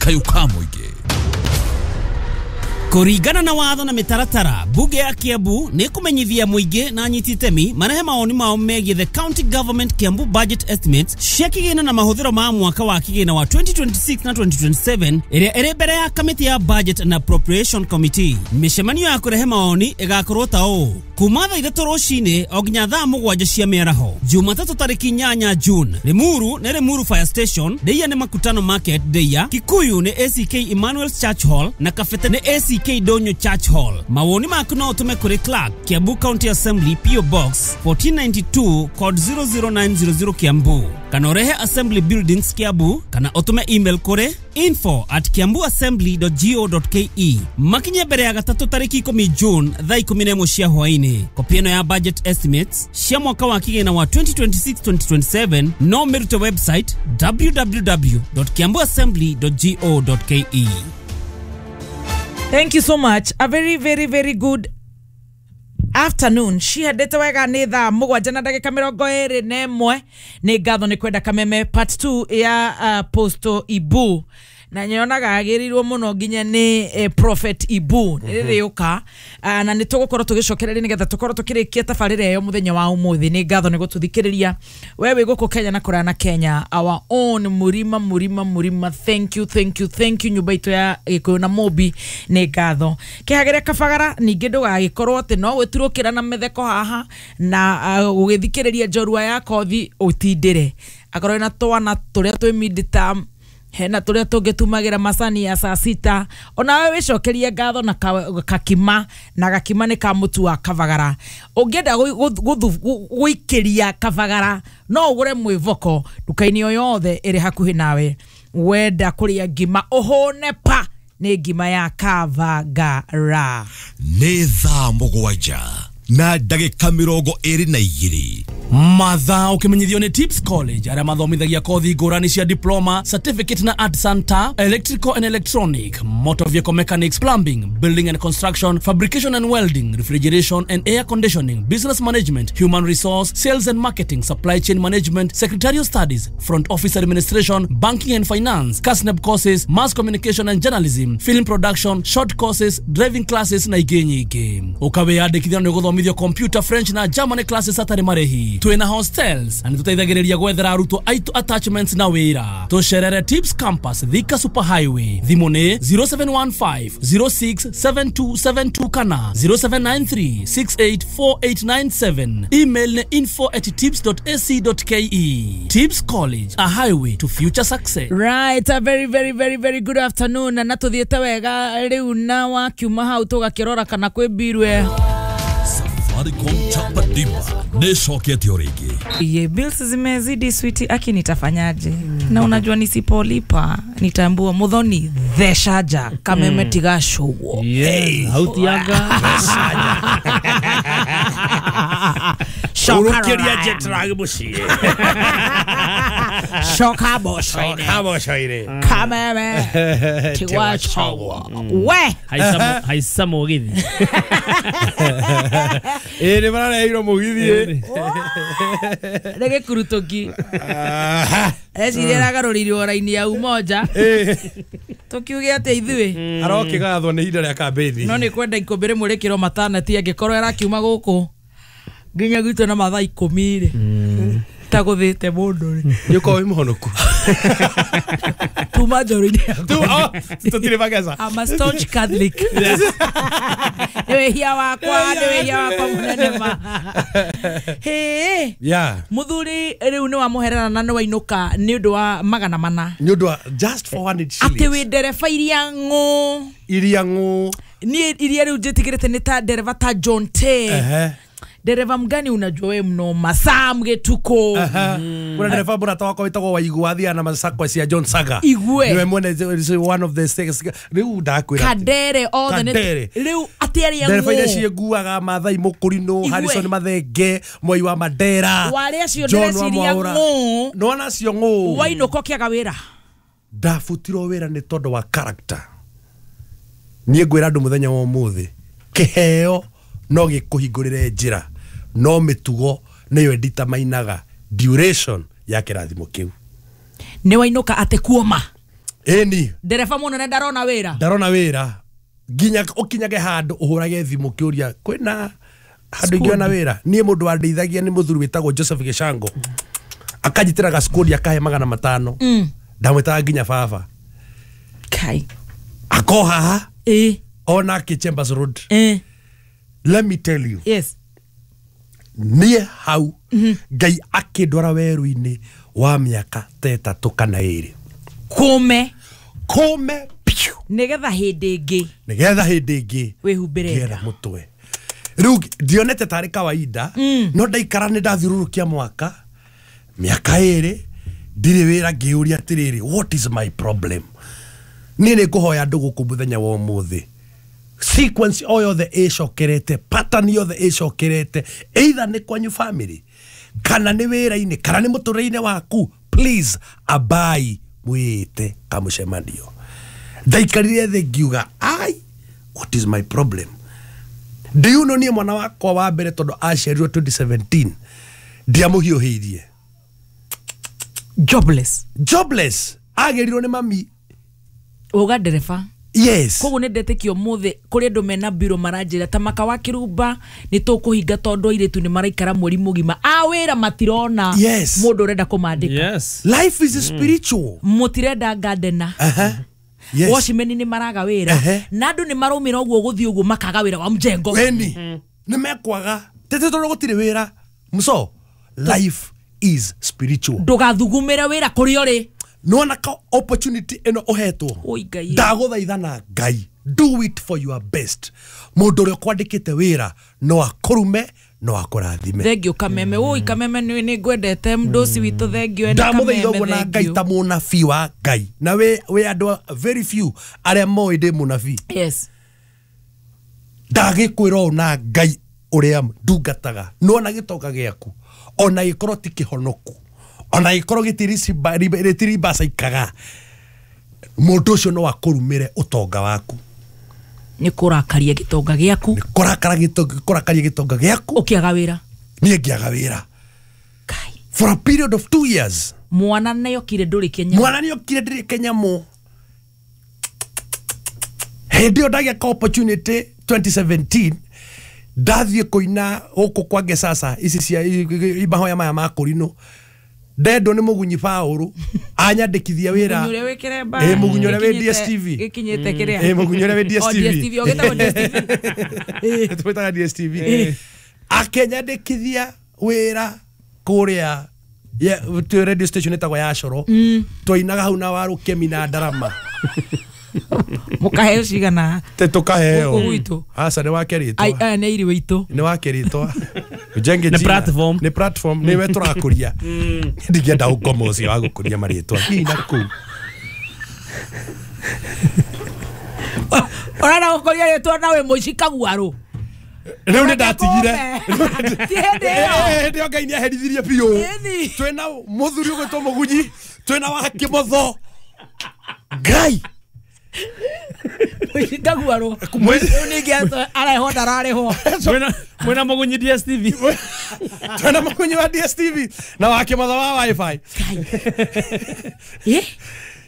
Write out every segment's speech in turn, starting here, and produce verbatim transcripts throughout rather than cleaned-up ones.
Kayũ ka mũingĩ. Kũringana na watho na mĩtaratara, bunge ya Kiambu nĩ kũmenyithia mũingĩ na anyiti itemi marehe mawoni mao megiĩ the county government Kiambu budget estimates cia kĩgĩna na mahũthĩro ma mwaka wa kĩgĩna wa twenty twenty-six na twenty twenty-seven ĩrĩa ĩrĩ mbere ya kamĩtĩ ya Budget and Appropriation Committee. Mĩcemanio ya kũrehe mawoni ĩgakorwo ta ũũ: kuma thaa ithatũ rũcinĩ o nginya thaa mũgwanja cia mĩaraho, Jumatatũ tarĩki inyanya June. Limuru nĩ Limuru Fire Station, Ndeia nĩ Makutano Market Ndeia, Kikuyu nĩ A C K Emmanuel Church Hall na Kabete nĩ A C K Donyo Church Hall. Mawoni maku no ũtũme kũrĩ Clerk, Kiambu County Assembly, P O Box fourteen ninety-two, code zero zero nine zero zero, Kiambu, kana ũrehe Assembly Buildings, Kiambu, kana ũtũme email kũrĩ info at kiambuassembly dot go dot ke. Makinye mbere ya gatatũ tarĩki ikũmi June thaa ikũmi na ĩmwe cia hwaĩ-inĩ. Kopi ĩno ya budget estimates cia mwaka wa kĩgĩna wa twenty twenty-six twenty twenty-seven no mĩrute website w w w dot kiambuassembly dot go dot ke. Thank you so much. A very, very, very good afternoon. Cihandĩte wega, nĩ thaa mũgwanja na ndagĩka mĩrongo ĩrĩ na ĩmwe. Nĩ ngatho nĩ kwenda Kameme part two ya uh, Posto Ibu na nyonaga agĩrĩirwo mũno nginya nĩ eh, Prophet Ibu nĩ rĩrĩũka uh, na nĩ tũgũkorwo tũgĩcokereria nĩgetha tũkorwo tũkĩrĩkia tabarĩra ĩyo mũthenya wa ũmũthĩ. Nĩ ngatho nĩ gũtũthikĩrĩria we wĩ gũkũ Kenya na kũraya na Kenya. Our own Mũrima, Mũrima, Mũrima, thank you, thank you, thank you. Nyũmba itũ ya Gĩkũyũ na Mũmbi, nĩ ngatho. Kĩhagĩre kabagara ningĩ ndũgagĩkorwo atĩ no gwĩturũkĩra na mĩtheko haha na uh, ũgĩthikĩrĩria njorua ya kothi ũtindĩre akorwo na twana tũrĩa twĩ mid-term, hena tũrĩa tũngĩ tumagĩra macani ya saa sita. Onawe wĩcokerie ngatho na ka- kakima na gakima nĩ ka mũtu wa kabagara. Ũngĩenda gũ- gũ- gũthu- gũ- gũikĩria kabagara, no ũgũre mwĩvoko nduka-inĩ o yothe ĩrĩ hakuhĩ nawe. Wenda kũrĩa ngima ũhũne pa, nĩ ngima ya kabagara. Nĩ thaa mũgwanja na ndagĩka mĩrongo ĩrĩ na igĩrĩ. Mathaa ũkĩmenyithio nĩ Tips College, arĩa mathomithagia kothi ngũrani cia diploma, certificate na artisan ta electrical and electronic, motor vehicle mechanics, plumbing, building and construction, fabrication and welding, refrigeration and air conditioning, business management, human resource, sales and marketing, supply chain management, secretarial studies, front office administration, banking and finance, KASNEB courses, mass communication and journalism, film production, short courses, driving classes na ingĩ nyingĩ. Ũkawĩyandĩkithia nĩ ũgũthomithio computer, French na German classes hatarĩ marĩhi. Twĩna hostels na nĩtũteithagĩrĩria gwethera arutwo aitũ attachments na wĩra. Tũcerere Tips Campus, Thika Super Highway. Thimũ nĩ zero seven one five zero six seven two seven two kana zero seven nine three six eight four eight nine seven. Email nĩ info at tips dot ac dot ke. Tips College, a highway to future success. Right, a very, very, very, very good afternoon. Na tuthiĩte wega rĩu na wakiuma hau tũgakĩrora kana kwĩ mbirwe. Safaricom Chapa Dimba nĩ ĩcokete o rĩngĩ. Ye, bills zimezidi, switi, aki nitafanyaje? Na unajua nisipolipa nitaambua Muthoni theshaja Kameme tigacũgwo. Yes, hautiaga. Shoka. Urukiria jetrag muciĩ. Shoka bocoine. Kabocoire. Kameme tigwacũgwo we. Haica haica mũgithi. Ĩ, nĩ marareheirwo mũgithi. Nĩ gĩkurutũki eciria ĩragarũrĩirwo raini ya Umoja, tũkiuge atĩ ithuĩ Arokĩgathwo nĩ ihinda rĩa kambĩni. No nĩ kwenda ikũmbĩ rĩmwe rĩkĩrwo mataneti angĩkorwo ĩrakiuma gũkũ nginya gwitũ na mathaa ikũmi rĩ, tagũthĩte mũndũ rĩ. Nĩ ũkorwo wĩ mũhonoku. Tuma njoro-inĩ yakwa. Tu- oh, tũtirĩ mageca. I'm a staunch Catholic. Nĩ wĩhia wakwa, nĩ wĩhia wakwa mũnene ma. Hĩ. Yeah. Mũthuri rĩu nĩ wamũherera na nĩ wainũka nĩ ũndũ wa magana mana. Nĩ ũndũ wa just four hundred Atĩ shillings. Wĩ ndereba iria ng'ũ. Iria ng'ũ. Niĩ iria rĩu njĩtigĩrĩte nĩ ta ndereba ta John T. Ehe. Ndereba mgani unajua we mnoma Sam Gĩtukũ. Kuna ndereba mũrata wakwa wĩtagwo Waigũ, athiaga na macakwa cia John Saga. Igue. Nĩwe mwene, is one of the six rĩu ndakwĩra atĩ- Kadere othe nĩ- Kadere. Rĩu atĩ arĩa Ndereba iria ng'ũ. ciĩnguaga, Mathai Mũkũrinũ, Igue. Harrison Mathenge, Moi wa Mandera, Warĩ acio John wa ndĩreciria Mwaũra. ng'ũ. Nĩwona acio ng'ũ. Wainũka ũkĩaga wĩra. Ndabutirwo wĩra nĩ tondũ wa character. Niĩ ngwĩra andũ mũthenya wa ũmũthĩ, kĩheo no gĩkũhingũrĩre njĩra, no mĩtugo nĩyo ĩnditamainaga duration ya kĩrathimo kĩu. Nĩ wainũka atĩ kuoma. Ĩni. Ndereba mũnene ndarona wĩra. Ndarona wĩra. Nginya ũkinyage handũ ũhũrage thimũ ũkĩũria kwĩna handũ ingĩona wĩra. Niĩ mũndũ wandeithagia nĩ mũthuri wĩtagwo Joseph Gĩcango. Akanjitĩra gacukũri akahe magana matano. Ndamwĩtaga nginya baba. Kai. Ako haha. Ĩ. Onake Chambers Road. Ĩ. Let me tell you. Yes. Niĩ hau Ngai akĩndwara werũ-inĩ wa mĩaka ta ĩtatũ kana ĩrĩ. Kũme. Kũme piũ. Nĩgetha hĩndĩ ĩngĩ. Nĩgetha hĩndĩ ĩngĩ. Wĩhumbĩre nda. Mũtwe. Rĩu ndionete tarĩ kawaida no ndaikara nĩ ndathiũrũrũkia mwaka mĩaka ĩrĩ ndirĩ wĩra ngĩũria atĩrĩrĩ, what is my problem? Niĩ nĩ ngũhoya andũ gũkũ mũthenya wa ũmũthĩ. Sequence o yothe ĩcokerete, pattern yothe ĩcokerete, either nĩ kwanyu family kana nĩ wĩra-inĩ kana nĩ mũtũrĩre-inĩ waku, please abai mwĩte kamũcemanio. Ndaikarire thĩ ngiuga, ai, what is my problem? Do you know niĩ mwana wakwa wa mbere tondũ aciarirwo twenty seventeen ndiamũhiũhĩirie. Jobless. Jobless. Agĩrirwo nĩ mami. Uga ndereba. Yes. Koguo nĩ ndetĩkio ũmũthĩ kũrĩ andũ mena mbiro maranjĩra ta maka wa kĩrumba nĩ tũkũhinga tondũ airĩtu nĩ maraikara mweri mũgima a wĩra matirona. Yes. Mũndũ ũrenda kũmandĩka. Yes. Life is spiritual. Mũtirenda gardener. Uh-huh. Yes. Watchmen nĩ maraga wĩra. Uh-huh. Na andũ nĩ maraumĩra ũguo gũthiĩ ũguo makaga wĩra wa mjengo. Weni. Nĩ mekwaga. Tete tondũ gũtirĩ wĩra. Muso, life is spiritual. Ndũgathugumĩre wĩra kũrĩa ũrĩ. Nĩwona ka opportunity ĩno ũhetwo. Oi Ngai. Ndagũthaitha na Ngai. Do it for your best. Mũndũ ũrĩa ũkwandĩkĩte wĩra no akũrume no akũrathime. Thengio Kameme. Oi Kameme nĩ nĩ ngwendete mdosi witũ thengio ena Ndamũthaitha Kameme ũguo na Ngai thengio. ta mũnabii wa Ngai. Na wĩ wĩ andũ very few arĩa moĩ ndĩ mũnabii. Yes. Ndagĩkwĩra ũũ na Ngai ũrĩa ndungataga. Nĩwona gĩtonga gĩaku ona gĩkorwo ti kĩhonoku ona gĩkorwo gĩtiribacikaga mũndũ ũcio no akũrumĩre ũtonga waku. Nĩ kũrakaria gĩtonga gĩaku. Nĩ kũrakara gĩtonga kũrakaria gĩtonga gĩaku. Ũkĩaga wĩra. Niĩ ngĩaga wĩra. Kai. For a period of two years. Mwana nĩokire ndũrĩ Kenya. Mwana nĩokire ndĩrĩ Kenya mũ. Hĩndĩ ĩyo ndagĩa ka opportunity twenty seventeen ndathiĩ kũina gũkũ kwa Ngesasa ici cia mahoya maya ma kũrinũ. Ndendwo nĩ mũgunyi Paũlũ anyandĩkithia wĩra. Mũgunyi ũrĩa wĩ kĩremba. Ĩ mũgunyi ũrĩa wĩ D S T V. Gĩkinyĩte kĩrĩa. Ĩ mũgunyi ũrĩa wĩ D S T V. O D S T V, ũgĩtagwo D S T V. Twĩtaga D S T V. Akĩnyandĩkithia wĩra kũrĩa twĩ radio station ĩtagwo ya Coro. Twainaga hau na Warũkemi na Ndarama. Mũkaheo cigana? Te tũkaheo. Gũkũ gwitũ. Aca nĩ wake rĩtwa. Ai, aya nĩ airi witũ. Nĩ wake rĩtwa. Ujenge Nĩ jina. platform. Nĩ platform nĩwe tũrakũria. Ndingĩenda ũkoma ũcio wa gũkũria marĩtwa. Hihi na kũu. Ũrenda gũkũria rĩtwa na wĩ mũici kaguarũ. Rĩu nĩ ndatigire. Ti hĩndĩ ĩyo. Hĩndĩ ĩyo Ngai nĩ aherithirie biũ. Ĩni. Twĩna mũthuri ũgwĩtwo Mũgunyi, twĩna wa Kĩmotho. Ngai. Mũici kaguarũ. Rĩu ningĩ arehwo ndararĩhwo. Mwena mwena Mũgunyi D S T V. Twĩna Mũgunyi wa D S T V na wa Kĩmotho wa Wi-Fi. Eh?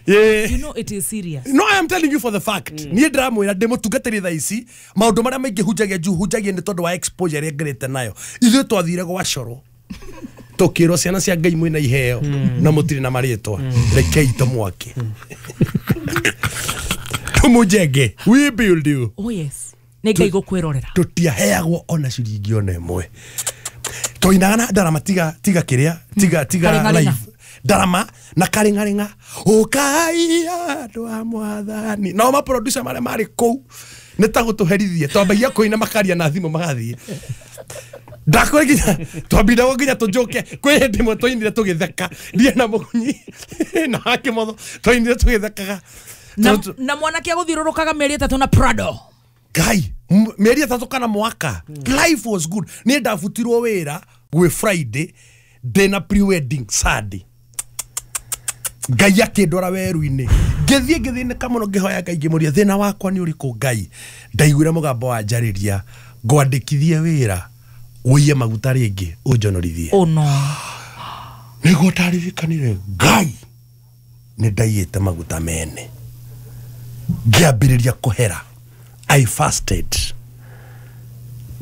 Yeah. You know it is serious. No, I am telling you for the fact. Niĩ ndĩramwĩra ndĩ mũtungatĩri thaa ici maũndũ marĩa maingĩ hunjagia juu hunjagia nĩ tondũ wa exposure ĩrĩa ngerete nayo. Ithuĩ twathire gwa Coro tũkĩrwo ciana cia Ngai mwĩna iheo na mũtirĩ na marĩtwa. Rekei tũmwake. Tũmũnjenge. We build you. Oh yes. Nĩ Ngai gũkwĩrorera. Tũtiaheagwo ona ciringi ona ĩmwe. Twainaga na ndarama tiga tiga kĩrĩa tiga tiga live. Ndarama na karĩng'arĩng'a ũkai andũ a mwathani. Nao maproducer marĩa marĩ kũu nĩ ta gũtũherithia twambagia kũina makaria na thimũ magathiĩ. Ndakwĩra nginya twambindagwo nginya tũnjũke kwĩ hĩndĩ ĩmwe twainire tũgĩtheka ndiĩ na Mũgunyi na wa Kĩmotho twainire tũgĩthekaga. Na, na mwanake agũthiũrũrũkaga mĩeri ĩtatũ na Prado. Ngai mĩeri ĩtatũ kana mwaka. Life was good. Niĩ ndabutirwo wĩra gwĩ Friday ndĩna pre-wedding Sunday. Ngai akĩndwara werũ-inĩ. Ngĩthiĩ ngĩthĩnĩka mũno ngĩhoya Ngai ngĩmũria thĩna wakwa nĩ ũrĩkũ Ngai. Ndaiguire mũgambo wanjarĩria ngwandĩkithie wĩra ũiye maguta rĩngĩ ũnjonorithie. Oh no. Nĩguo ndaririkanire Ngai. Nĩ ndaiyĩte maguta mene. Ngĩambĩrĩria kũhera. I fasted.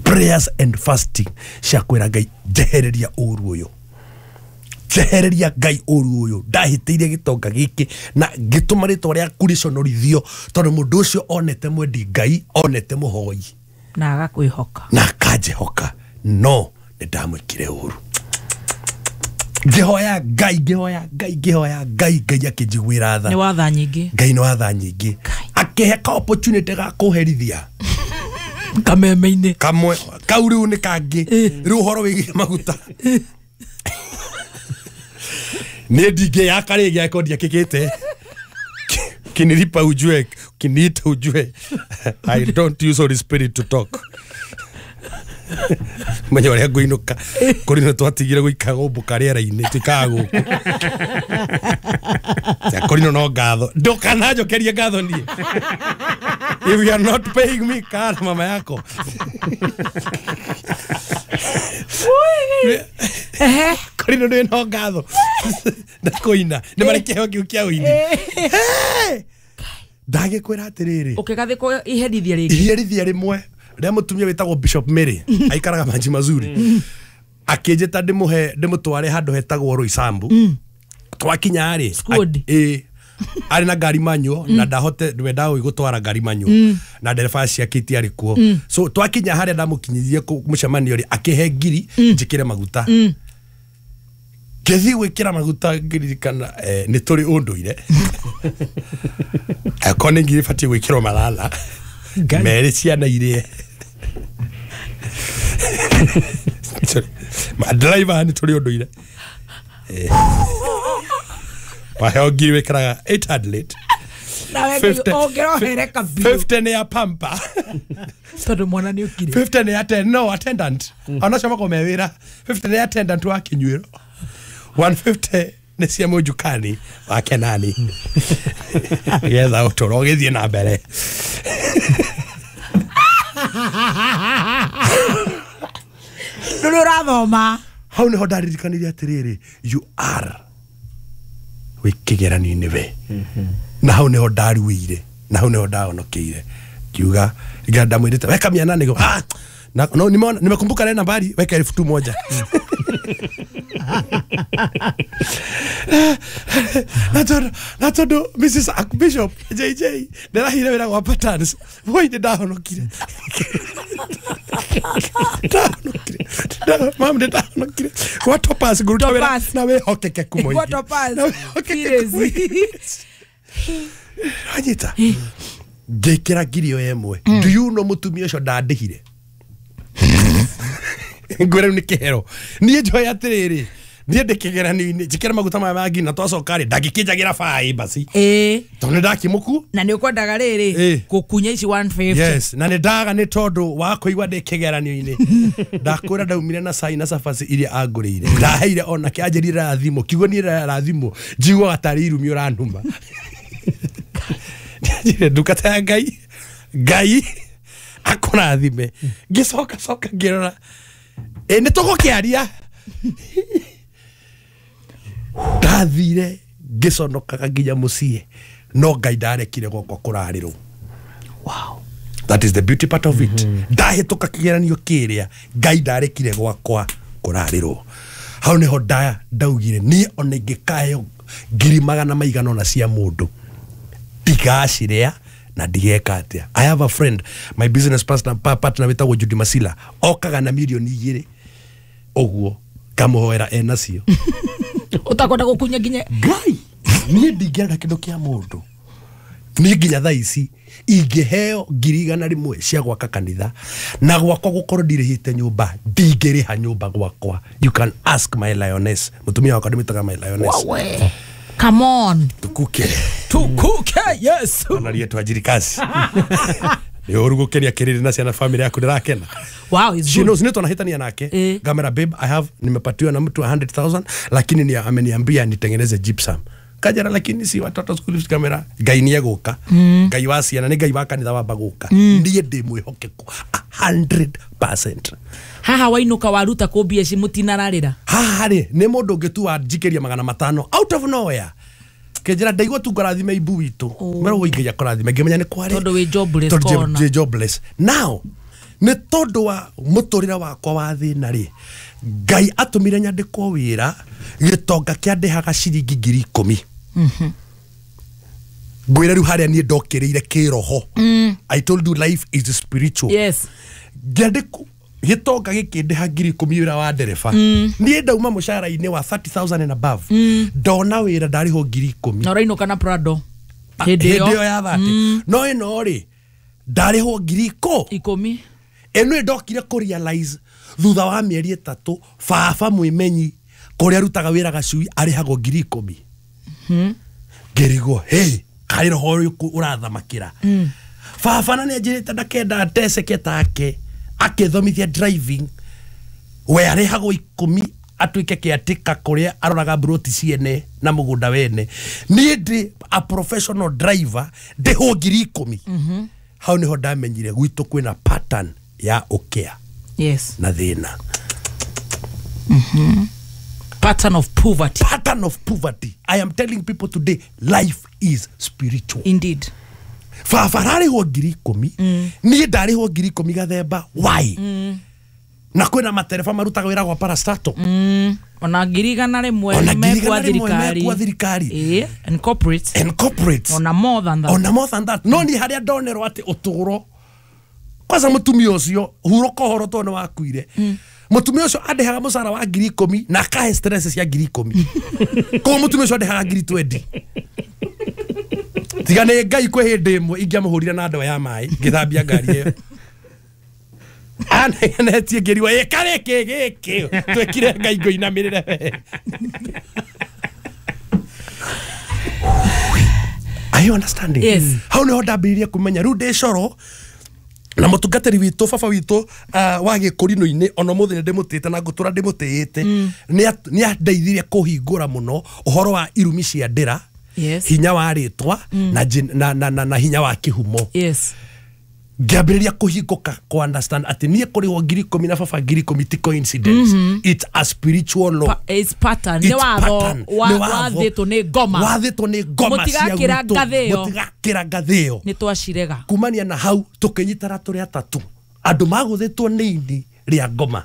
Prayers and fasting cia kwĩra Ngai njehereria ũru ũyũ. Njehereria Ngai ũru ũyũ. Ndahĩtĩirie gĩtonga gĩkĩ na ngĩtũma rĩtwa rĩaku rĩconorithio tondũ mũndũ ũcio onete mwendi Ngai, onete mũhoi na agakwĩhoka na akanjĩhoka, no nĩ ndamwĩkire ũru. Ngĩhoya Ngai, ngĩhoya Ngai, ngĩhoya Ngai, Ngai akĩnjiguĩra tha. Nĩ watha nyingĩ. Ngai nĩ watha nyingĩ. Akĩhe ka opportunity ga kũherithia kameme-inĩ kamwe kau rĩu nĩ kangĩ. Rĩu ũhoro wĩgiĩ maguta niĩ ndingĩyaka rĩngĩ angĩkorwo ndiakĩkĩte. Kinilipa ujue, kiniita ujue. I don't use Holy Spirit to talk. Menya ũrĩa ngũinũka kũrĩ nĩ twatigire gũikara gũmbũka rĩera-inĩ tũikaraga gũkũ. Kũrĩ no ngatho ndũkananjokerie ngatho niĩ. If you are not paying me, kaa mama yako. Kũrĩ no no ngatho na kũina nĩ marĩ kĩheo kĩu kĩa ũini. Ndagĩkwĩra atĩrĩrĩ, ũkĩgathĩkwo iherithia rĩngĩ, iherithia rĩmwe rĩa mũtumia wĩtagwo Bishop Mary aikaraga Maji Mazuri akĩnjĩta ndĩmũhe ndĩmũtware handũ hetagwo Roysambu. Twakinya rĩ ĩ arĩ na ngari manyuo na ndahote ndwendaga gũtwara ngari manyuo na ndereba ciake itiarĩ kuo. So twakinya harĩa ndamũkinyirie mũcemanio rĩ akĩhe ngiri njĩkĩre maguta. Ngĩthiĩ gwĩkĩra maguta ngĩririkana nĩ tũrĩ ũndũire akorwo nĩ ngiri ĩbatiĩ gwĩkĩrwo marana merĩ ciana irĩe. Driver nĩ tũrĩ ũndũire waheo ngiri wĩkĩraga eight hundred fifty nĩ ya pampa tondũ mwana nĩ ũkire, fifty nĩ ya no attendant onacio makorwo me wĩra, fifty nĩ ya attendant wa kĩnyuĩro, one fifty nĩ cia mũnjukani wa Kenani nĩgetha ũtũro ũgĩthiĩ na mbere. Ndũrĩ ũrathoma. Hau nĩho ndaririkanire atĩrĩrĩ, you are wĩ kĩgeranio-inĩ we. Na hau nĩho ndaruĩire, na hau nĩho ndahonokeire. Ngiuga ndamwĩrĩte weka mia nane ah, na, no, nimeona nimekumbuka ile nambari, weka elfu tu moja. Na tondu na tondu Missus Archbishop J J nderahire wĩra gwa Patterns boy nĩ ndahonokire. Ndahonokire. Mam nĩ ndahonokire gwa Topaz ngũruta wĩra na wĩhokekeku mũingĩ. Gwa Topaz. Anyita ngĩkĩra ngiri ĩyo ĩmwe. Do you know mũtumia ũcio ndandĩhire? Ngwĩra rĩu nĩ kĩhero. Niĩ njoe atĩrĩrĩ, niĩ ndĩ kĩgeranio-inĩ njĩkĩre maguta maya ma ngiri na twacoka rĩ ndangĩkĩnjagĩra baĩ basi ĩĩ tondũ nĩ ndakĩmũku na nĩ ũkwendaga rĩrĩ gũkunya ici one fifty. Yes, na nĩ ndaga nĩ tondũ wa kũigua ndĩ kĩgeranio-inĩ. Ndakwĩra ndaumire na cai na cabaci iria angũrĩire ndaheire onake anjĩrire rathimũ kiugo niĩ rathimũ njiguaga tarĩ irumi ũranuma. Njĩrire ndungata ya Ngai Ngai akũrathime. Ngĩcoka coka ngĩrora ĩ nĩ tũgũkĩaria. Ndathire ngĩconokaga nginya mũciĩ no Ngai ndarekire gwakwa kũrarĩrwo. Wow. That is the beauty part of it. Ndahĩtũka kĩgeranio kĩrĩa Ngai ndarekire gwakwa kũrarĩrwo. Hau nĩho nda ndaugire niĩ ona ingĩkaheo ngiri magana maigana ũna cia mũndũ ndigaciria na ndigeka atĩa. I have a friend, my business partner, partner wĩtagwo Judy Masila, okaga na milioni igĩrĩ ũguo ngamũhoera enacio. Ũtakwenda gũkunya nginya Ngai niĩ ndingĩenda kĩndũ kĩa mũndũ. Niĩ nginya thaa ici ingĩheo ngiri igana rĩmwe cia gwaka kanitha na gwakwa gũkorwo ndirĩhĩte nyũmba ndingĩrĩha nyũmba gwakwa. You can ask my lioness. Mũtumia wakwa ndĩmwĩtaga my lioness. Wawe. Come on. Tukuke. Tukuke, yes. Ona twajiri kazi. Nĩ ũru gũkenia kĩrĩrĩ na ciana family yaku ndĩrakena. Wow, it's She good. knows nĩ twanahĩtania nake. Eh. Ngamera babe, I have nimepatiwa na mtu one hundred thousand lakini ni ameniambia nitengeneze gypsum. Kajara lakini si watoto school fees kamera. Ngai nĩ egũka. Ngai wa ciana nĩ Ngai wa kanitha wamba gũka. Niĩ ndĩ mwĩhokeku a hundred percent. Haha wainuka waruta kũ mbia ici mũtinararĩra. Haha rĩ nĩ mũndũ ũngĩ tu wanjikĩria magana matano out of nowhere. Akĩnjĩra ndaigua tu ngũrathime ibu witũ. Mero ũingĩria kũrathime ngĩmenya nĩ kwarĩ. Tondũ wĩ jobless Tondũ kona. ndĩ jobless. Now nĩ tondũ wa mũtũrĩre wakwa wa thĩna rĩ, Ngai atũmire nyandĩkwo wĩra gĩtonga kĩandĩhaga ciringi ngiri ikũmi. Ngwĩre rĩu harĩa niĩ ndokĩrĩire kĩroho. I told you life is spiritual. Yes. Ngĩandĩkwo gĩtonga gĩkĩndĩha ngiri ikũmi wĩra wa ndereba. Niĩ ndauma mũcara-inĩ wa thirty thousand and above. Ndona wĩra ndarĩhwo ngiri ikũmi. Na ũrainũka na Prado. Hĩndĩ Hĩndĩ ĩyo ĩyo ya thate. No ĩno rĩ ndarĩhwo ngiri ikũ ikũmi. Ĩno ndokire kũ realize thutha wa mĩeri ĩtatũ baba mwĩmenyi kũrĩa arutaga wĩra gacui arĩhagwo ngiri ikũmi. Ngĩrigwo hey kaĩ roho ũrĩkũ ũrathamakĩra. Baba na nĩanjĩrĩte ndakenda ndeceke take akĩthomithia driving we arĩhagwo ikũmi atuĩke kĩatĩka kũrĩa aroraga mburoti ciene na mũgũnda wene. Niĩ ndĩ a professional driver ndĩhwo ngiri ikũmi. Hau nĩho ndamenyire gwitũ kwĩna pattern ya ũkĩa. Yes. Na thĩna. Pattern of poverty. Pattern of poverty. I am telling people today, life is spiritual. Indeed. Baba ararĩhwo ngiri ikũmi, niĩ ndarĩhwo ngiri ikũmi gathemba. Why? Na kwĩna matereba marutaga wĩra gwa parastato. Ona ngiri igana rĩmwe Ona ngiri mekwa igana rĩmwe thirikari. mekwa thirikari. Eh, and corporate. And corporates. Ona more than that. Ona more than that. No niĩ harĩa ndonerwo atĩ ũtũũro kwanza mũtumia ũcio hurũka ũhoro tondũ nĩ wakuire. Mũtumia ũcio andĩhaga mũcara wa ngiri ikũmi na akahe stress cia ngiri ikũmi. Koguo mũtumia ũcio andĩhaga ngiri twenty. Tiga nĩ Ngai kwĩ hĩndĩ ĩmwe ingĩamũhũrire na ndoo ya maĩ ngĩthambia ngari ĩyo. Anegenetie ngĩrigwo ĩ karĩ kĩ gĩkĩ twĩkire Ngai ngũinamĩrĩre we. Are you understanding? Yes. Hau nĩho ndambĩrĩirie kũmenya rĩu ndĩ coro na mũtungatĩri witũ baba witũ uh, wa gĩkũrinũ-inĩ ona ũmũthĩ nĩ ndĩmũtĩĩte na ngũtũra ndĩmũtĩĩte. Nĩ andeithirie kũhingũra mũno ũhoro wa irumi cia ndĩra. Yes. Hinya wa rĩtwa na, na, na, na, na hinya wa kĩhumo. Yes. Ngĩambĩrĩria kũhingũka kũ understand atĩ niĩ kũrĩhwo ngiri ikũmi na baba ngiri ikũmi ti coincidence. It's a spiritual law. Pa, it's pattern. It's Nĩ watho pattern. wa- Nĩ watho. wathĩtwo nĩ ngoma. Wathĩtwo nĩ ngoma cia Mũtigakĩra gwitũ. ngathĩ ĩyo. Mũtigakĩra ngathĩ ĩyo. Nĩ twacirega. Kumania na hau tũkĩnyitana tũrĩ atatũ andũ magũthĩtwo nĩ ini rĩa ngoma.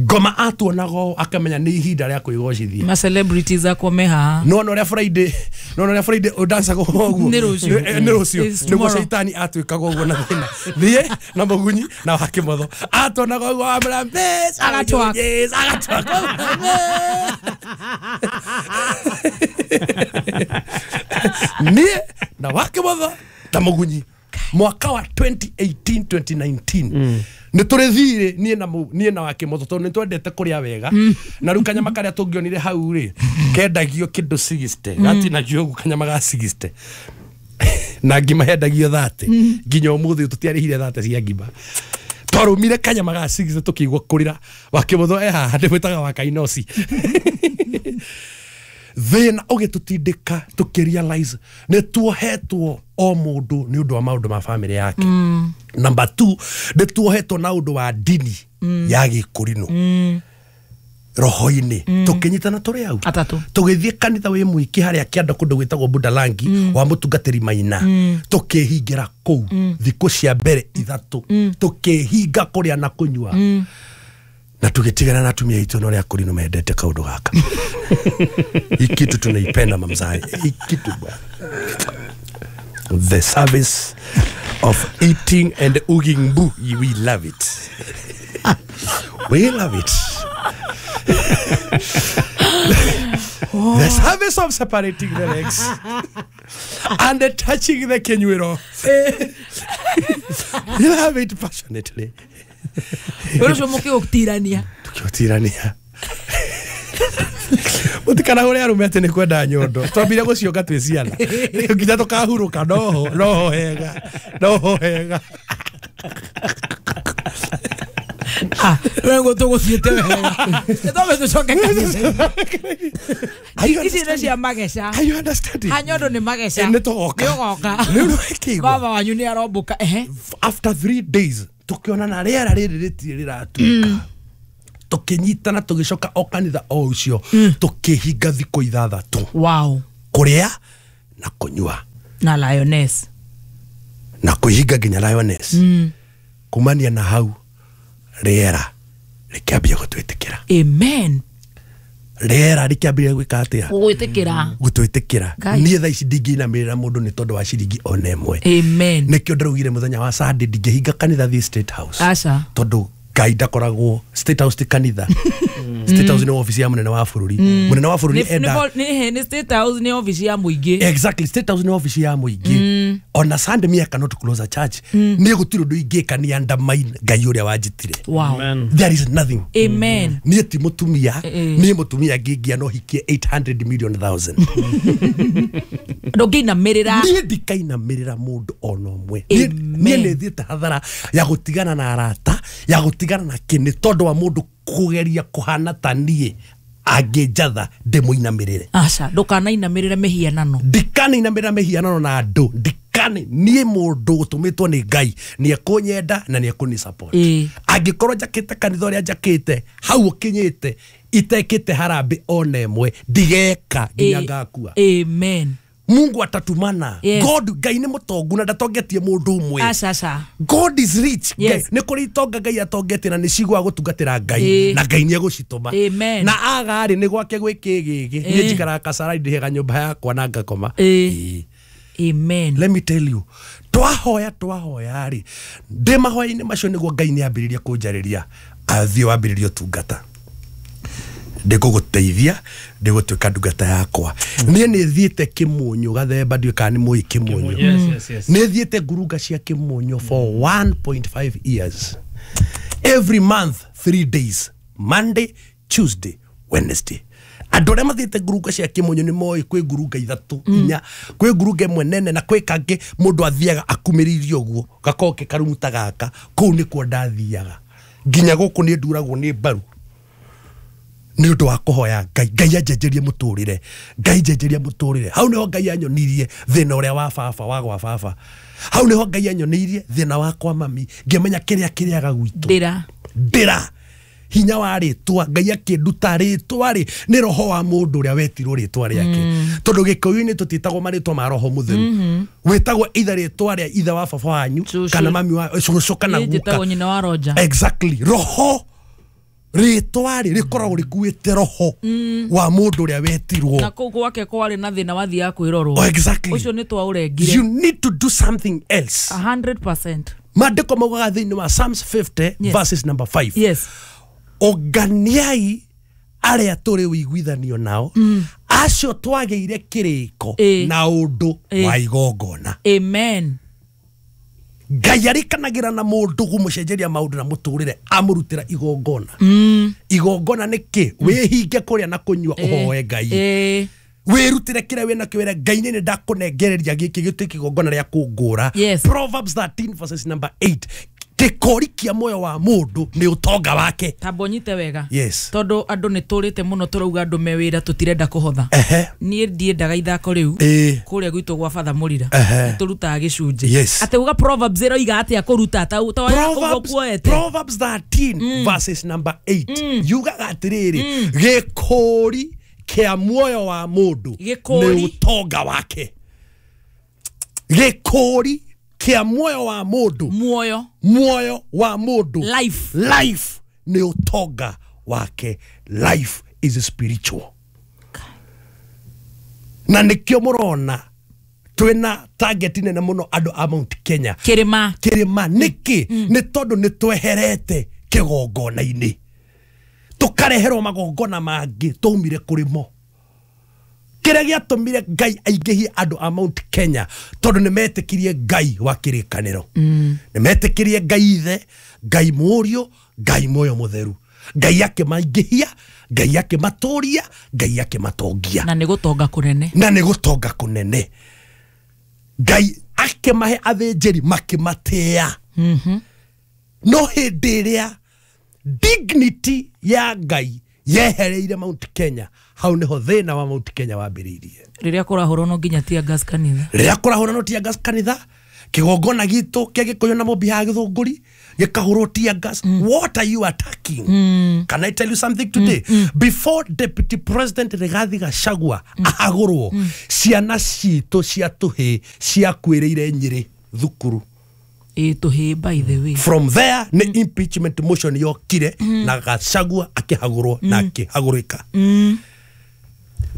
Ngoma atuonaga ũũ akamenya nĩ ihinda rĩa kwĩgocithia. Ma celebrities akwa me haha. No no ũrĩa Friday, no no ũrĩa Friday ũdancaga ũguo. Nĩ rũciũ. Nĩ rũciũ. It's Nĩguo tomorrow. caitani atuĩkaga ũguo na thĩna. Thiĩ na mũgunyi na wakĩmotho. Atuonaga ũguo amwĩra, Bitch, Agatwaka. Yes, agatwaka. Niĩ na wakĩmotho na mũgunyi. Mwaka wa twenty eighteen twenty nineteen nĩ tũrĩ thirĩ niĩ na niĩ na wakĩmotho tondũ nĩ twendete kũrĩa wega. Na rĩu kanyama karĩa tũngĩonire hau rĩ kendagio kĩndũ sixty gatinagio ũguo kanyama ga sixty na ngima hendagio thirty nginya ũmũthĩ tũtiarĩhire thirty cia ngima. Twarũmire kanyama ga sixty tũkĩigua kũrĩra. Wakĩmotho e haha ndĩmwĩtaga wa kainoci. Thĩna ũgĩtũtindĩka tũkĩrealize nĩ tuohetwo o mũndũ nĩ ũndũ wa maũndũ ma famĩlĩ yake. Number two, nĩ tuohetwo na ũndũ wa ndini ya gĩkũrinũ roho-inĩ. Tũkĩnyitana tũrĩ hau Atatũ. Tũgĩthiĩ kanitha wĩ mũingĩ harĩa kĩanda kũndũ gwĩtagwo Budalangi wa mũtungatĩri Maina. Tũkĩhingĩra kũu thikũ cia mbere ithatũ. Tũkĩhinga kũrĩa na kũnyua. Na tũgĩtigana na atumia aitũ na ũrĩa akũrinũ mendete kaũndũ gaka. Hii kitu tunaipenda mamzai. Hii kitu bwana. The service of eating and ugging mbu, we love it. We love it. The service of separating the legs and the touching the kenyuero. We love it passionately. Wĩra ũcio mũkĩũtirania. Tũkĩũtirania. Mũtikanahũre arũme atĩ nĩ kwenda nyondo. Twambire gũcionga twĩ ciana. Nginya tũkahurũka noho, noho hega, noho hega. Ah, we ngo tũgũthiĩte wega. Nĩtwambe tũcoke kanitha. Ici nĩ cia mageca. Are you understanding? Ha nyondo nĩ mageca. Nĩ tũgoka. Nĩ ũgoka. Rĩu nĩ wekĩigua. Baba wanyu nĩ arombũka. Ehe. After three days tũkĩona na rĩera rĩrĩ rĩtirĩ rĩratuĩka. Tũkĩnyitana tũgĩcoka o kanitha o ũcio tũkĩhinga thikũ ithathatũ. Wow. Kũrĩa na kũnyua na lioness na kwĩhinga nginya lioness mm. Kumania na hau rĩera rĩkĩambia gũtwĩtĩkĩra. Amen. Rĩera rĩkĩambia gwĩka atĩa? Gũgwĩtĩkĩra. Gũtwĩtĩkĩra. Niĩ thaa ici ndingĩinamĩrĩra mũndũ nĩ tondũ wa ciringi ona ĩmwe. Amen. Nĩkĩo ndĩraugire mũthenya wa Sunday ndingĩhinga kanitha thiĩ State House. Aca. Tondũ Ngai ndakoragwo State House ti kanitha. State House nĩ obici ya mũnene wa bũrũri. Mũnene wa bũrũri enda nĩ nĩ State House nĩ obici ya mũingĩ. Exactly, State House nĩ obici ya mũingĩ. Ona Sunday me I cannot close a church. Niĩ gũtirĩ ũndũ ingĩka ni undermine Ngai ũrĩa wanjĩtire. Wow. There is nothing. Amen. Niĩ ti mũtumia, niĩ mũtumia ngĩngĩa no hikie eight hundred million thousand. Ndũngĩinamĩrĩra. Niĩ ndikainamĩrĩra mũndũ ona ũmwe. Niĩ nĩ thiĩte hathara ya gũtigana na arata, ya gũtigana na kĩnĩ tondũ wa mũndũ kũgeria kũhana ta niĩ angĩnjatha ndĩmũinamĩrĩre. Aca, ndũkanainamĩrĩre mĩhianano. Ndikanainamĩrĩra mĩhianano na andũ. Ndikane niĩ mũndũ ũtũmĩtwo nĩ Ngai nĩ ekũnyenda na nĩ ekũni support. Angĩkorwo njakĩte kanitha ũrĩa njakĩte hau ũkinyĩte itekĩte harambĩ ona ĩmwe ndigeka nginya ngakua. Amen. Mungu atatumana. Yes. God Ngai nĩ mũtongu na ndatongetie mũndũ ũmwe. Aca aca. God is rich. Yes. Nĩ kũrĩ itonga Ngai atongetie na nĩ cigwa gũtungatĩra Ngai na Ngai nĩ egũcitũma. Na aga rĩ nĩ gwake gwĩ kĩgĩgĩ. Niĩ njikaraga Kasarani ndĩhega nyũmba yakwa na ngakoma. Amen. Let me tell you, twahoya twahoya rĩ ndĩ mahoya-inĩ macio nĩguo Ngai nĩ ambĩrĩria kũnjarĩria athiĩ wambĩrĩria ũtungata. Ndĩgũgũteithia ndĩgũtuĩka ndungata yakwa. Niĩ nĩ thiĩte Kĩmũnyũ gathemba ndiũĩ kana nĩ mũĩ Kĩmũnyũ. Yes, yes, yes. Nĩ thiĩte ngurunga cia Kĩmũnyũ for one point five years. Every month three days, Monday, Tuesday, Wednesday. Andũ arĩa mathiĩte ngurunga cia Kĩmũnyũ nĩ moĩ kwĩ ngurunga ithatũ inya, kwĩ ngurunga ĩmwe nene na kwĩ kangĩ mũndũ athiaga akumĩrĩirie ũguo gakorwo ke karumu ta gaka. Kũu nĩkuo ndathiaga nginya gũkũ nĩ nduragwo nĩ mbaru nĩ ũndũ wa kũhoya Ngai. Ngai anjenjerie mũtũrĩre, Ngai njenjerie mũtũrĩre. Hau nĩho Ngai anyonirie thĩna ũrĩa wa baba wa gwa baba. Hau nĩho Ngai anyonirie thĩna wa kwa mami, ngĩmenya kĩrĩa kĩrĩaga gwitũ. Ndĩra ndĩra hinya wa rĩtwa. Ngai akĩnduta rĩtwa rĩ nĩ roho wa mũndũ ũrĩa wetirwo rĩtwa rĩake. Tondũ gĩkũyũ-inĩ tũtiĩtagwo marĩtwa ma roho mũtheru. Wĩtagwo either rĩtwa rĩa ithe wa baba wanyu kana mami wa cũcũ kana guka. Njĩtagwo nyina wa Roja. Exactly. Roho rĩtwa rĩ rĩkoragwo rĩkuĩte roho wa mũndũ ũrĩa wetirwo. Na kũu gwake kwarĩ na thĩna wathiaga kwĩrorwo. Oh, exactly. Ũcio nĩ twaũrengire. You need to do something else. a hundred percent. Maandĩko maugaga thĩinĩ wa Psalms fifty yes. verses number five. Yes. Ũnganiai arĩa tũrĩ ũiguithanio nao mm. acio twagĩire kĩrĩko na ũndũ wa igongona. Amen. Ngai arikanagĩra na mũndũ kũmũcenjeria maũndũ na mũtũrĩre amũrutĩra igongona. Mm. Igongona nĩ kĩ? Wĩhinge kũrĩa na kũnyua ũhoe Ngai. Wĩrutĩre kĩrĩa wĩna kĩo wĩre Ngai nĩ ndakũnengereria gĩkĩ gĩtuĩke igongona rĩa kũngũra. Yes. Proverbs thirteen verses number eight. Gĩkũri kĩa muoyo wa mũndũ nĩ ũtonga wake. Tamba ũnyite wega. Yes. Tondũ andũ nĩ tũrĩte mũno tũrauga andũ me wĩra tũtirenda kũhotha. Niĩ ndiendaga ithako rĩu kũrĩa gwitũ gwa Father Mũrira. Tũrutaga gĩcunjĩ. Yes. Atĩ uga Proverbs ĩroiga atĩa kũruta ta ũguo kuoete. Proverbs thirteen verses number eight. Yugaga atĩrĩrĩ, gĩkũri kĩa muoyo wa mũndũ nĩ ũtonga wake. Gĩkũri kĩa muoyo wa mũndũ, muoyo muoyo wa mũndũ, life, life nĩ ũtonga wake. Life is spiritual. Na nĩkĩo mũrona twĩna target nene mũno andũ a Mount Kenya kĩrĩma kĩrĩma. Nĩkĩ? Nĩ tondũ nĩ tweherete kĩgongona-inĩ tũkareherwo magongona mangĩ twaumire kũrĩ mo. Kĩrĩa gĩatũmire Ngai aingĩhie andũ a Mount Kenya tondũ nĩ metĩkirie Ngai wa kĩrĩkanĩro. Nĩ metĩkirie Ngai ithe, Ngai mũriũ, Ngai muoyo mũtheru. Ngai akĩmaingĩhia, Ngai akĩmatũria, Ngai akĩmatongia. Na nĩ gũtonga kũnene. Na nĩ gũtonga kũnene. Ngai akĩmahe athĩnjĩri makĩmatĩa. No hĩndĩ ĩrĩa dignity ya Ngai yehereire Mount Kenya, hau niho thĩna wa Mount Kenya wambĩrĩirie. Rĩrĩa kũrahũrwo no nginya tear gas kanitha. Rĩrĩa kũrahũrwo no tear gas kanitha, Kigongona gitu kia Gikuyu na Mumbi ha Githunguri gikahurwo tear gas. What are you attacking? Can I tell you something today? Before Deputy President Rigathi Gachagua ahagurwo, ciana citũ cia tũhĩ ciakuĩrĩire Nyĩrĩ thukuru. Ĩ tũhĩ, by the way. From there nĩ impeachment motion yokire na Gachagua akĩhagũrwo na akĩhagũrĩka.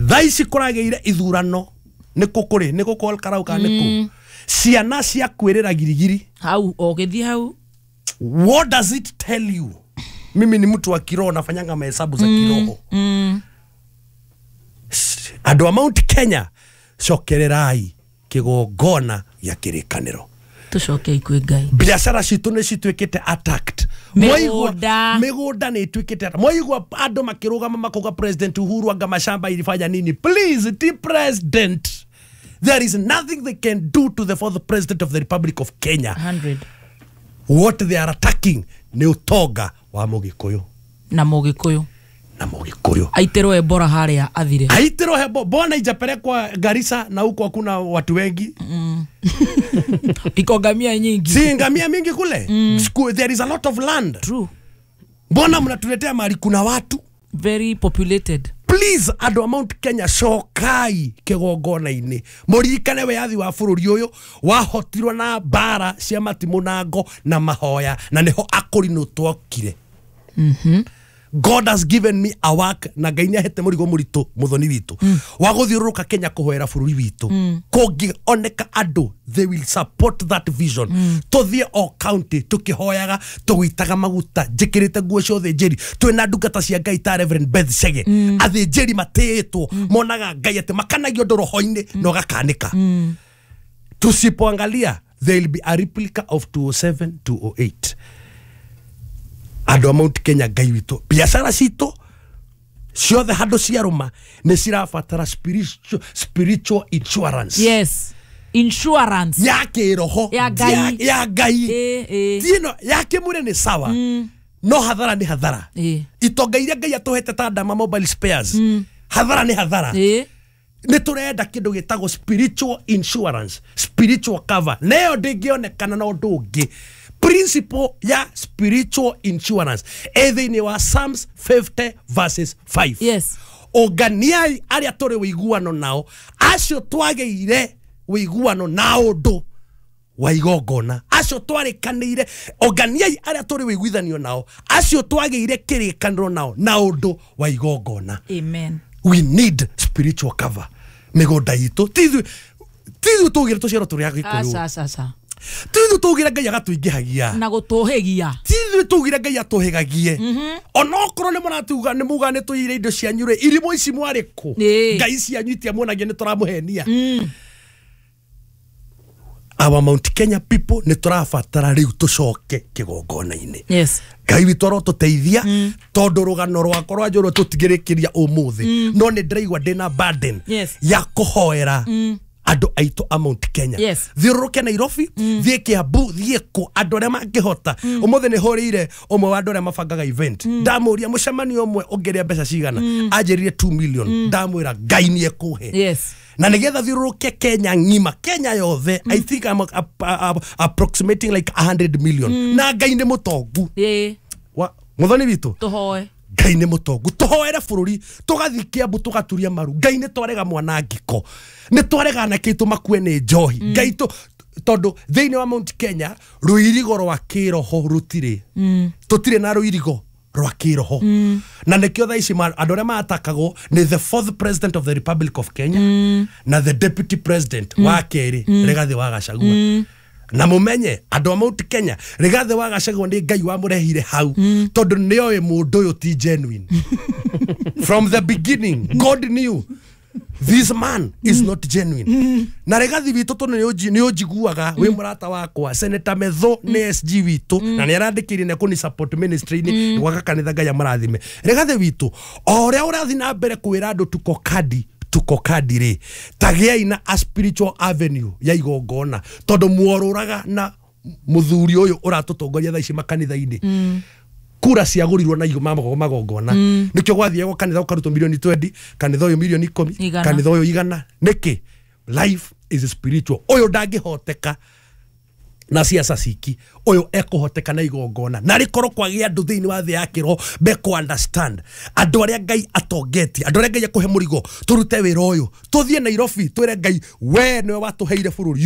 Thaa ici kũragĩire ithurano nĩ kũ kũrĩ nĩ kũ Ol Kalou kana nĩ kũ ciana ciakuĩrĩra girigiri hau ũgĩthiĩ hau. What does it tell you? Mimi ni mtu wa kiroho, nafanyanga mahesabu za kiroho. Andũ a Mount Kenya, cokererai kĩgongona gĩa kĩrĩkanĩro. Tũcoke kwĩ Ngai. Biacara citũ nĩ cituĩkĩte attacked. Mĩgũnda. Mĩgũnda nĩ ĩtuĩkĩte attacked. Mwaigua andũ makĩrũgama makauga President Uhuru anga mashamba ilifanya nini? Please, ti president. There is nothing they can do to the fourth president of the Republic of Kenya. one hundred. What they are attacking nĩ ũtonga wa Mũgĩkũyũ. Na Mũgĩkũyũ. Na Mũgĩkũyũ. Aitirwo Ebola harĩa athire. Aitirwo Ebola. Mbona ijapelekwa Garissa na huko hakuna watu wengi? Mm. Iko ngamia nyingi. Si ngamia mingi kule? Mm. There is a lot of land. True. Mbona mnatuletea mahali kuna watu? Very populated. Please, andũ a Mount Kenya, cokai kĩgongona-inĩ. Mũririkane wĩyathi wa bũrũri ũyũ wahotirwo na mbara cia matimũ na ngo na mahoya, na nĩho akũrinũ twokire. Mhm. God has given me a work na Ngai nĩahete mũrigo mũritũ mũthoni witũ wa gũthiũrũrũka Kenya kũhoera bũrũri witũ. Kũngĩoneka andũ, they will support that vision. Tũthiĩ o county tũkĩhoyaga, tũgĩitaga maguta, njĩkĩrĩte nguo cia ũthĩnjĩri, twĩna ndungata cia Ngai ta Reverend Beth Chege. Athĩnjĩri matĩĩtwo, monaga Ngai atĩ makanagio ũndũ roho-inĩ na ũgakanĩka. Tusipoangalia, there will be a replica of two oh seven, two oh eight. Andũ a Mount Kenya, Ngai witũ, biacara citũ ciothe handũ ciarũma nĩ cirabatara spiritual, spiritual insurance. Yes. Insurance ya kĩroho, ya Ngai, ya Ngai. Eh, eh. Tino ya kĩmwĩrĩ nĩ sawa. Mm. No hathara nĩ hathara. Eh. Itonga iria Ngai atũhete ta Dama mobile spares. Mm. Hathara nĩ hathara. Eh. Nĩ tũrenda kĩndũ gĩtagwo spiritual insurance, spiritual cover. Nayo ndĩngĩonekana na ũndũ ũngĩ. Principle ya spiritual insurance ĩ thĩinĩ wa Psalms fifty verses five. Yes. Ũnganiai arĩa tũrĩ ũiguano nao, acio twagĩire ũiguano na ũndũ wa igongona, acio twarĩkanĩire. Ũnganiai arĩa tũrĩ ũiguithanio nao, acio twagĩire kĩrĩkanĩro nao na ũndũ wa igongona. Amen. We need spiritual cover. Mĩgũnda itũ ti ithuĩ tũgĩre tũciaro tũrĩ Agĩkũyũ. Aca, aca, aca. Ti ithuĩ tũgĩre Ngai agatũingĩhagia na gũtũhĩgia. Ti ithuĩ tũgĩre Ngai atũhĩgagie. Onokorwo nĩ mũratuga nĩ muga nĩ tũiyire indo cianyu rĩ, irimũ ici mwarĩ kũ? Ngai cianyu itiamuonagia nĩ tũramũhenia. Our Mount Kenya people nĩ tũrabatara rĩu tũcoke kĩgongona-inĩ. Yes. Ngai witũ arotũteithia, tondũ rũgano rwakwa rwa njũrũ tũtigĩrĩkĩria ũmũthĩ, no nĩ ndĩraigua ndĩna burden ya kũhoera andũ aitũ a Mount Kenya. Yes. Thiũrũrũke Nairobi, thiĩ Kiambu, thiĩ kũ, andũ arĩa mangĩhota. Ũmũthĩ nĩ hũrĩire ũmwe wa andũ arĩa mabangaga event. Ndamũria mũcemanio ũmwe ũngĩrĩa mbeca cigana, anjĩrire two million. Ndamwĩra Ngai nĩ ekũhe. Yes. Na nĩgetha thiũrũrũke Kenya ng'ima, Kenya yothe, I think I'm a, a, a, approximating like a hundred million. Na Ngai nĩ mũtongu. Yeah. Wa mũthoni witũ, tũhoe. Ngai nĩ mũtongu, tũhoere bũrũri, tũgathiĩ Kiambu tũgaturia maru. Ngai nĩ twarega mwanangĩko, nĩ twarega anake aitũ makue nĩ njohi. Ngai tũ tondũ thĩinĩ wa Mount Kenya rũirigo rwa kĩroho rũtirĩ. Tũtirĩ na rũirigo rwa kĩroho. Na nĩkĩo thaa ici andũ arĩa matakagwo nĩ the fourth president of the Republic of Kenya na the deputy president wa kerĩ Rigathi wa Gachagua. Na mumenye andũ a Mount Kenya, Rigathi wa Gachagua nĩ Ngai wamũrehire hau, tondũ nĩoĩ mũndũ ũyũ ti genuine. From the beginning God knew this man is not genuine. Na Rigathi witũ tondũ nĩ ũnjiguaga wĩ mũrata wakwa, Senator Metho nĩ S G witũ na nĩ arandĩkĩire na kũni support ministry-inĩ gwaka kanitha, Ngai amũrathime. Rigathi witũ o ũrĩa ũrathiĩ na mbere kwĩra andũ tuko kadi tuko kadi rĩ, tagĩai na a spiritual avenue ya igongona, tondũ muorũraga na mũthuri ũyũ ũratũtongoria thaa ici makanitha-inĩ. Kura ciagũrirwo na magongona, nĩkĩo gwathiagwo kanitha ũkarutwo milioni twenty, kanitha ũyũ milioni ikũmi, kanitha ũyũ igana. Nĩkĩ? Life is spiritual. Ũyũ ndangĩhoteka Na ciaca ciki ũyũ ekũhoteka na igongona na rĩkorwo kwagĩa andũ thĩinĩ wa thĩ ya kĩroho mekũ understand andũ arĩa Ngai atongetie, andũ arĩa Ngai akũhe mũrigo, tũrute wĩra ũyũ, tũthiĩ Nairobi twĩre Ngai, we nĩwe watũheire bũrũri ũyũ.